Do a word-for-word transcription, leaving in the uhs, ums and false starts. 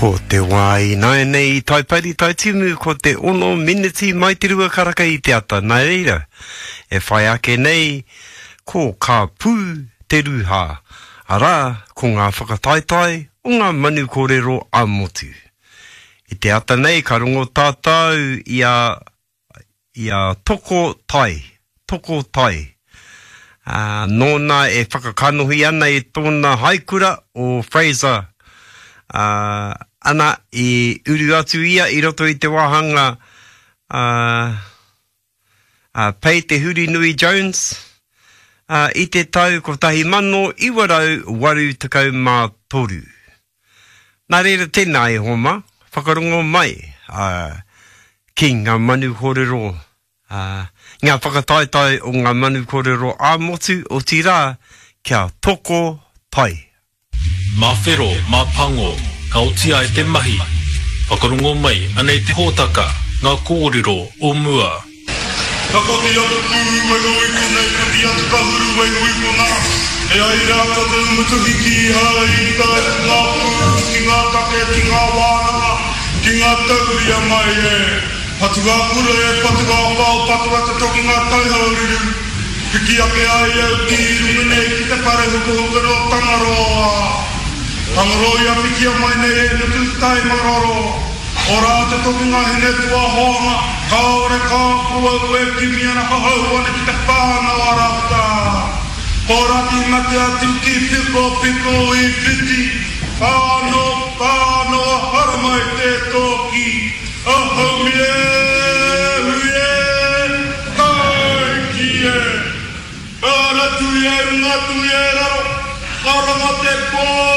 Ko te wā i nāianei i Taipari Taitimu, ko te ono miniti mai te rua karaka i te ata. Nā reira, e whai ake nei, ko Ka Pū te Rūhā, arā, ko ngā whakataetae o ngā manu kōrero ā-motu. I te ata nei, ka rongo tātou i a, i a Toko Tai, Toko Tai. Uh, nōna e whakakanohi ana i tōna haikura o Fraser. Uh, ana, i uru atu ia i roto i te wāhanga uh, uh, Pei Te Hurinui Jones uh, i te tau kotahi mano iwa rau waru tekau mā toru. Nā reira tēnā e homa, whakarongo mai uh, ki ngā manu kōrero, uh, ngā whakataetae o ngā manu kōrero ā-motu, otirā, kia toko tai. Mā whero, mā pango, ka oti ai te mahi. Whakarongo mai, anei te hōtaka, ngā kōrero o mua. Ka koti atu pū, e ngoi konei, koti atu ka huru, e ngoi kona. E ai rā ko te umutuhi ki hai, i tae ki ngā pū, ki ngā take, ki ngā wānanga, ki ngā tauria mai e. Patu ngā kura e, patu ngā pao, patu atu toki ngā taihaururu. Piki ake ai au ki runga nei ki te pare hukuhuku no Tangaroa. Tangaroa ia pikia mai nei e nuku tai maroro. Ora te toki ngā hine tua hoanga, kāore kā kua ue kimi ana ka hau ana ki te whānau a rata. Ko raki mate atu ki piko piko i whiti, whāno whāno a haramai te tōki, a haumi e, hui e, taiki e. Ka ratu i e runga tu i e raro, ka ranga te pō